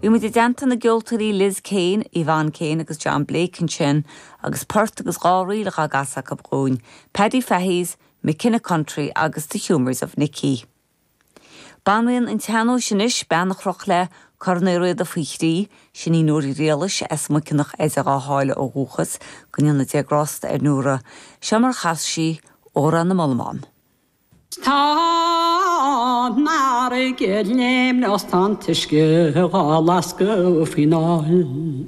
Bhí muid i dteannta na gceoltóirí Liz Kane, Yvonne Kane agus John Blake ansin agus port agus dá ríl dhá gcasadh acu dhúinn, Paddy Fahy's McKenna Country agus The Humours of Nicky. Banríon an tsean-nóis anois, bean a chroch léi Corn Uí Riada faoi thrí, sin í Nóra Ní Ghriallais as Muiceanach as Ráth Sáile ó dhúchas, go ndéana Dia grásta ar Nóra. Seo mar a chas sí Órán na mBollamán. Tá an fharraige ag léimneach 's tá an t-uisce dhá lascadh faoin aill.